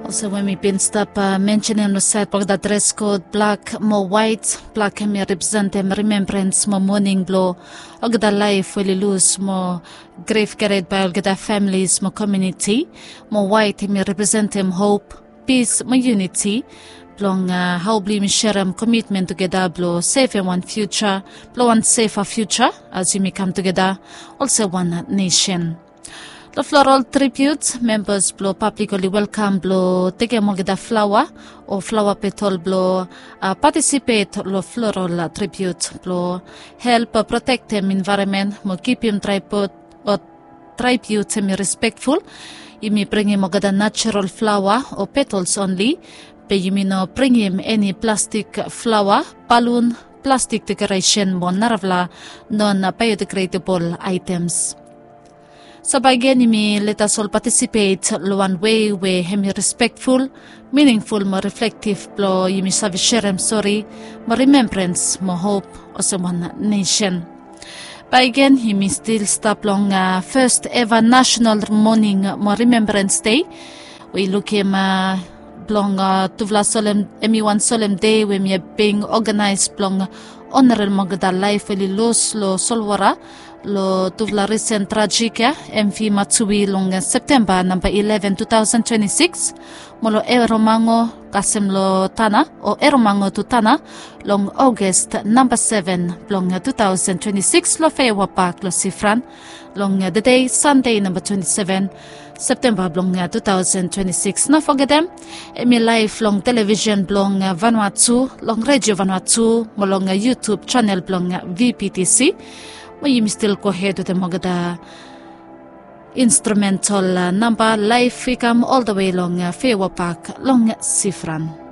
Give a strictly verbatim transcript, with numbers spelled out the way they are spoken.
Olsem we mi bin stap mensenim long sait blong olgeta dres kod blak mo wait. Blak hemi representem rimembrans mo moning blong olgeta laef we oli lus mo grif kared bae olgeta familis mo komiuniti. Mo wait hemi representem hop, pis mo iuniti blong hao blong yumi serem komitmen tugeta blong sevem wan fiusa, blong wan sefa fiusa as yumi kam tugeta olsem wan nesen. Long floral tribiut, membas blong pablik oli welkam blong tekem olgeta flaoa o flaoa petol blong patisipet long floral tribiut blong help protektem envaeronmen mo kipim traipot o traibut hemi respektful. Yumi bringim olgeta natural flaoa o petols onli. Be yumi no bringim eni plastik flaoa, balun, plastik dekoresen mo narafala non biodegredabol aetems. So bae gen yumi letas ol patisipet long wan wei we hemi respektful, miningful mo riflektiv blong yumi save serem sori mo rimembrans mo hop olsem wan nesen. Bae gen yumi stil stap long fes eva nasenal moning mo rimembrans dei. We i lukim blong tufala solem, hemi wan solem dei we hemi bin oganaes blong onarem olgeta laef we oli lus long solwota long tufala risen trajik ya, M V Matsui, long Septemba namba eleven, two thousand twenty-six. Mo long Eromango kasem long Tanna o Eromango tu Tanna long August namba seven blong two thousand twenty-six long Feaua Pak long Sifran long tedei Sande namba twenty-seven Septemba blong two thousand twenty-six. No fogetem, hemi laef long televisen blong Vanuatu, long Redio Vanuatu mo long YouTube senel blong V P T C. Mo yumi stil gohed wetem olgeta instrumental namba laef i kam oltawe long Feaua Pak long Sifran.